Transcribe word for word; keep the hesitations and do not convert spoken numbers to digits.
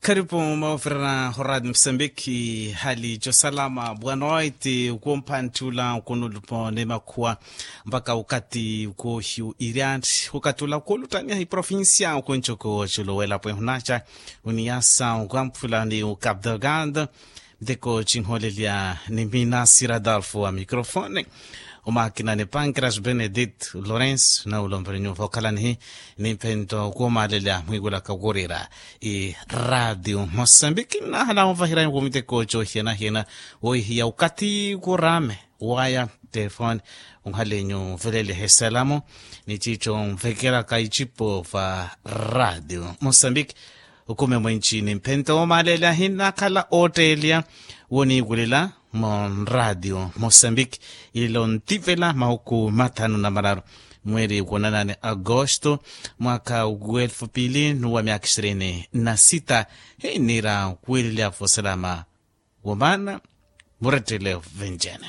Kharipu moovirana horaati musambiki hali cosalama bwanoiti ukumpanttula ukunulupo ni makhuwa mpakha ukathi ukohiyu iriantti ukathi ula ukulutaniha iprovincia ukuncuku culuwela pwe hunaca uniyasa ukamphula ni ukabdelgado. Miteko cinholelya ni minasi radolfo wa microfone. Omakina ni pankras benedit lorenso na ulomvere nyuva okhalanihi ni mphento kuomalelya mwikulaka okurira iradio mosambiki nnahala onvahirani kumiteko cohiyanahiyana woihiya ukathi kurame waya telefone. Unhalenyu velele heselamu ni cico nvekelaka icipo va radio mosambiki. Ukume mwenci ni mphento omalele ahinakhala otteliya woniikulela mu radio mosambiki. Ilo ntivela mahuku mathanu na mararu mweri kunanani agosto mwaka wa elfu pili nuwa myaka ishirini na sita. Hinira kwililya vosalama womana murettele venjene.